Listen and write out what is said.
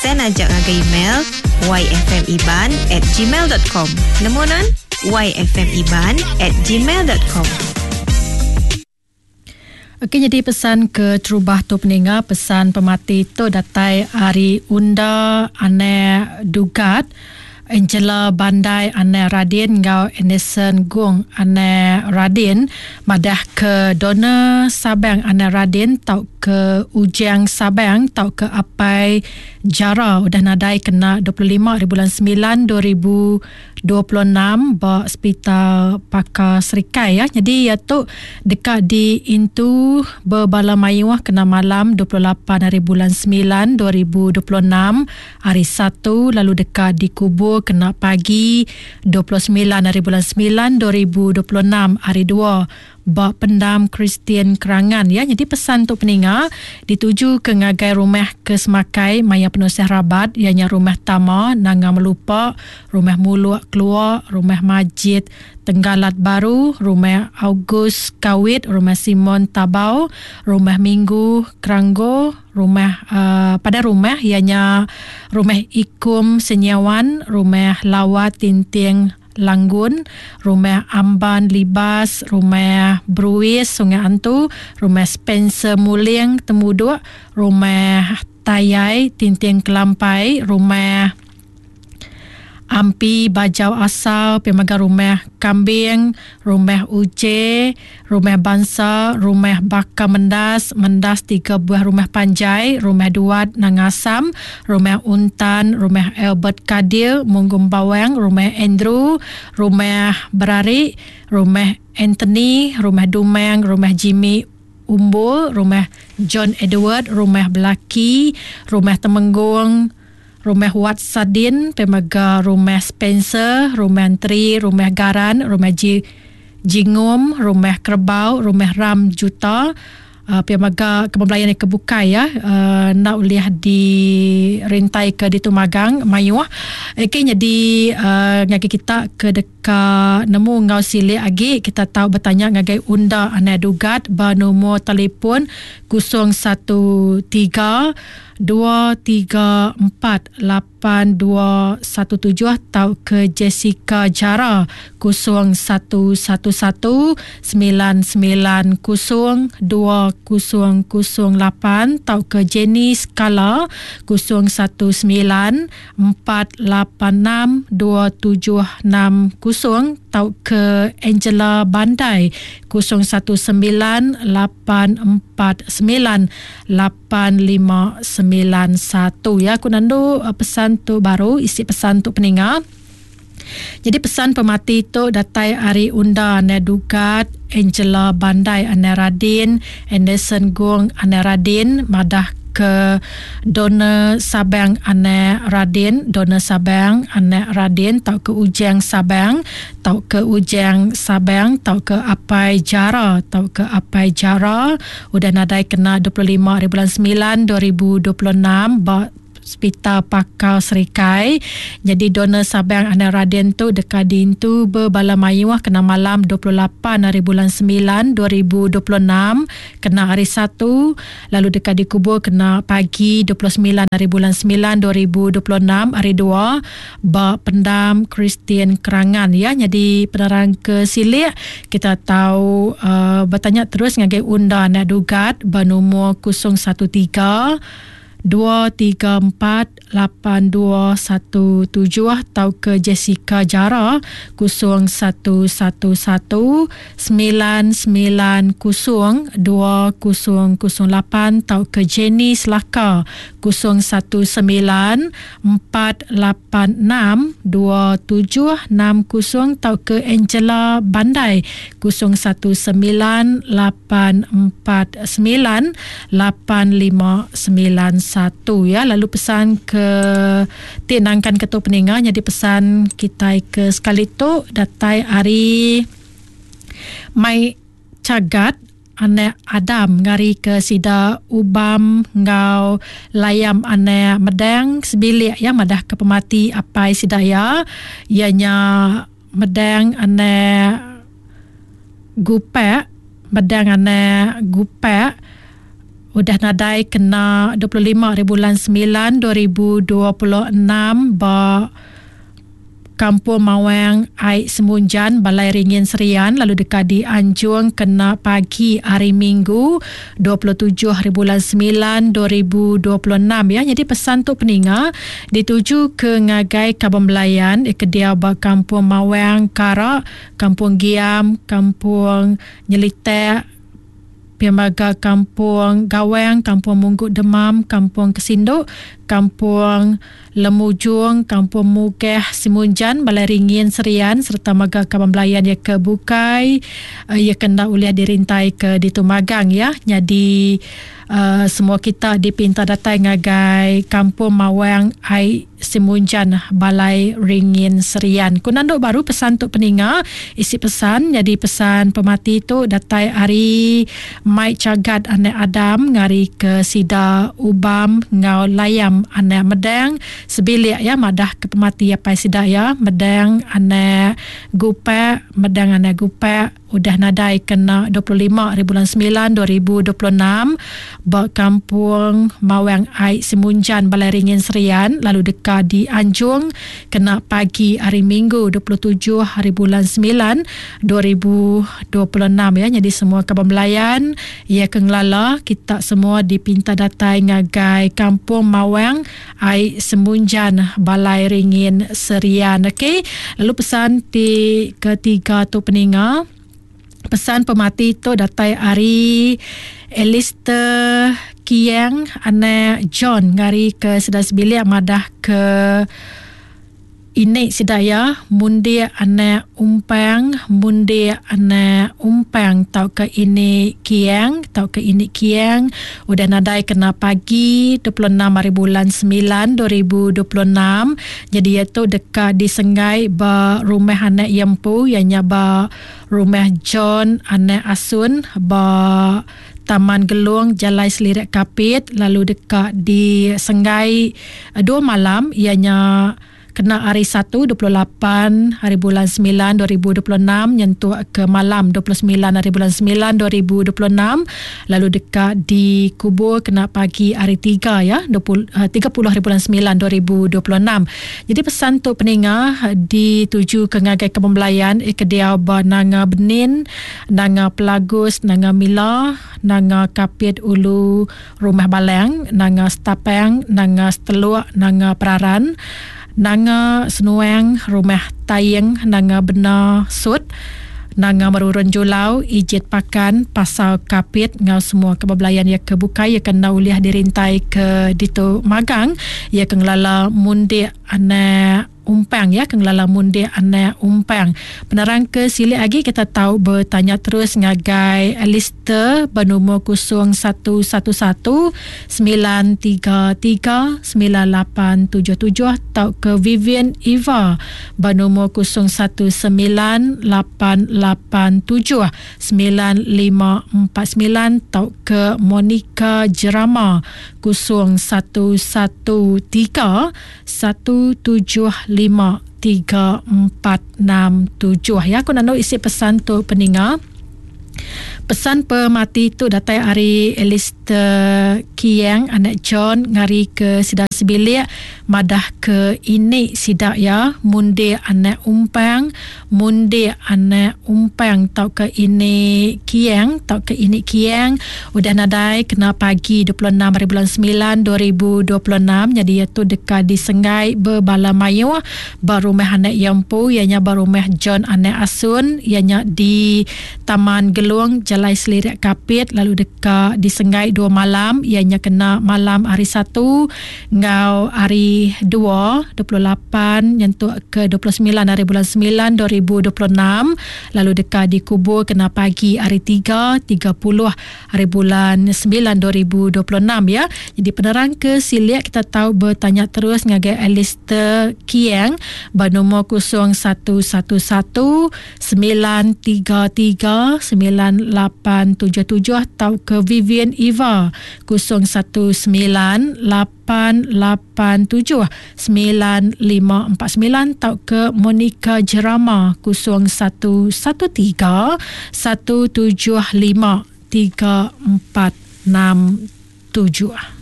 Send aja ngagai email yfmiban at gmail dot com. Nemu nan? yfmiban at gmail dot com. Okey nyadi pesan ke terubah tu peninga pesan pemati tu datai ari Unda Anak Dugat Angela Bandai Anak Radin enggau Anderson Gung Anak Radin madah ke donor Sabang Anak Radin tauka Ujang Sabang tauka Apai Jara udah nadai kena 25 ari bulan 9 2000 26 ba Sepital Pakar Serikai ya. Nyadi iya tu deka diintu bebala mayuh kena malam 28 hari bulan 9 2026 hari Satu lalu deka dikubur kena pagi 29 hari bulan 9 2026 hari Dua ba Pendam Kristian Kerangan ya. Nyadi pesan tu peninga dituju ke ngagai rumah ke semakai maya penusah rabat iya nya Rumah Tama Nanga Melupa, Rumah Muluk Kelua, Rumah Majid Tenggalat Baru, Rumah August Kawit, Rumah Simon Tabau, Rumah Minggu Keranggo, Rumah uh, pada rumah iya nya Rumah Ikum Senyawan, Rumah Lawat Tinting Langgun, Rumah Amban Libas, Rumah Bruis Sungai Antu, Rumah Spencer Muling Temuduk, Rumah Tayai Tinting Kelampai, Rumah Ampi Bajau Asal, pia mega Rumah Kambing, Rumah Uje, Rumah Bansa, Rumah Baka Mendas, Mendas tiga buah rumah panjai, Rumah Duat Nanga Asam, Rumah Untan, Rumah Albert Kadil, Munggum Bawang, Rumah Andrew, Rumah Berari, Rumah Anthony, Rumah Dumang, Rumah Jimmy Umbul, Rumah John Edward, Rumah Belaki, Rumah Temenggung, Rumah Wat Sadin, pemega Rumah Spencer, Rumah Enteri, Rumah Garan, Rumah Ji Jingum, Rumah Kerebau, Rumah Ram Juta, uh, pia mega ke belayan ke bukai ya uh, enda ulih dirintai ke ditu magang mayuh. Okey nyadi uh, ngagai kita ke deka nemu enggau silik agi kita tau betanya ngagai Unda Anak Dugat ba nombor telefon 013 2 3 4 8 2 1 7 tauka Jessica Jara 0 1 1 1 9 9 0 2 0 0 8 tauka Jenny Skala 0 1 9 4 8 6 2 7 6 0 tauka Angela Bandai 0 1 9 8 4 9 8591 ya aku nandu uh, pesan tu baru isi pesan tu peninga. Jadi pesan pemati tu datai ari Unda Ane Dugat, Angela Bandai Ane Radin, Anderson Gong Ane Radin madah ke donor Sabang Ane Radin, donor Sabang Ane Radin tauka Ujang Sabang tauka Ujang Sabang tauka Apai Jara tauka Apai Jara udah nadai kena 25 hari bulan 9 2026 ba Sepital Pakar Serikai. Nyadi donor Sabang Anak Raden tu deka diintu bebala mayuh kena malam 28 hari bulan 9 2026 kena hari Satu lalu deka dikubur kena pagi 29 hari bulan 9 2026 hari Dua ba Pendam Kristian Kerangan ya. Nyadi penerang ke silik kita tau uh, betanya terus ngagai Unda Anak Dugat ba nomor 013 234 8217 tauka Jessica Jara 0111 990 2008 tauka Jenny Selaka 019 486 2760 tauka Angela Bandai 019 849 8591 ya. Lalu pesan ke ti nangkan ke tu peninga nyadi pesan kitai ke sekali tu datai ari mai Chagat anak Adam ngari ke sida Ubam enggau Layam anak Medang sebilik ya madah ke pemati apai sida iya iya nya Medang anak Gupak Medang anak Gupak. Udah nadai kena 25 hari bulan 9 2026 ba Kampung Mawang Ai Semunjan Balai Ringin Serian lalu deka dianjung kena pagi hari Minggu 27 hari bulan 9 2026 ya. Jadi pesan tu peninga dituju ke ngagai kaban belayan ke diau ba Kampung Mawang Kara, Kampung Giam, Kampung Nyelitek, Pia mega Kampung Gawang, Kampung Munggu Demam, Kampung Kesinduk, Kampung Lemujung, Kampung Mugeh, Simunjan, Balai Ringin, Serian sereta mega kaban belayan iya ke bukai iya ke enda ulih dirintai ke ditu magang iya. Nyadi semua kita dipinta datai ngagai Kampung Mawang Ai Simunjan Balai Ringin Serian. Ku nandu baru pesan tu peninga, isi pesan nyadi pesan pemati tu datai ari Mai Chagat anak Adam ngari ke sida Ubam enggau Layam anak Medang sebilik iya madah ke pemati apai sida iya Medang anak Gupak Medang anak Gupak. Udah nadai kena 25 ari bulan 9 2026 ba Kampung Mawang Ai Simunjan Balai Ringin Serian lalu deka dianjung kena pagi hari Minggu 27 ari bulan 9 2026 ya. Nyadi semua kaban belayan iya ke ngelala kita semua dipinta datai ngagai Kampung Mawang Ai Semunjan Balai Ringin Serian. Okey. Lalu pesan ti ketiga tu peninga. Pesan pemati tu datai ari Alistair Kiang anak John ngari ke sida sebilik madah ke Ini sida iya mundik anak umpang, mundik anak umpang tauka ini kiang tauka ini kiang udah nadai kena pagi 26 hari bulan 9 2026. Jadi iya tu deka disenggai ba rumah anak iya empu iya nya ba rumah John anak Asun ba Taman Gelong Jalai Selirik Kapit lalu deka disenggai dua malam iya nya kena hari Satu 28 hari bulan 9 2026 nyentuk ke malam 29 hari bulan 9 2026 lalu deka dikubur kena pagi hari Tiga ya 20, 30 hari bulan 9 2026. Jadi pesan tu peninga dituju ke ngagai kebembelayan ke diau ba Nanga Benin Nanga Pelagus, Nanga Mila, Nanga Kapit Ulu Rumah Balang, Nanga Setapang, Nanga Seteluk, Nanga Peraran, Nanga Senuang, Rumah Taing, Nanga Bena Sut, Nanga Merurun Julau, Ijit Pakan, Pasar Kapit enggau semua ke bebelayan iya ke bukai iya ke enda ulih dirintai ke ditu magang iya ke ngelala mundik anak Umpang ya ke ngelala mundik anak Umpang. Penerang ke silik agi kita tau betanya terus ngagai Alistair benumur 0111 933 9877 tauka Vivian Eva benumur 0198 87 9549 tauka Monica Jerama 0113 1753467 ya aku nanu isi pesan tu peninga. Pesan pemati tu datai ari Alistair Kiang anak John ngari ke sida sebilik madah ke ini sida ya mundik anak umpang mundik anak umpang tauka ini Kiang tauka ini Kiang udah nadai kena pagi 26 hari bulan 9 2026 nyadi iya tu deka disenggai bebala mayuh ba rumah anak iya empu iya nya ba rumah John Anak Asun iya nya di Taman Gelung Jalai Selirik Kapit lalu deka disenggai dua malam iya nya kena malam hari Satu enggau hari Dua 28 nyentuk ke 29 hari bulan 9 2026 lalu deka dikubur kena pagi hari Tiga 30 hari bulan 9 2026 ya. Jadi penerang ke silik kita tau bertanya terus ngagai Alistair Kiang ba nombor 0111 933 9877 tauka Vivian Eva 019 887 9549 tauka Monica Jerama 0113 175 3467. tujuh.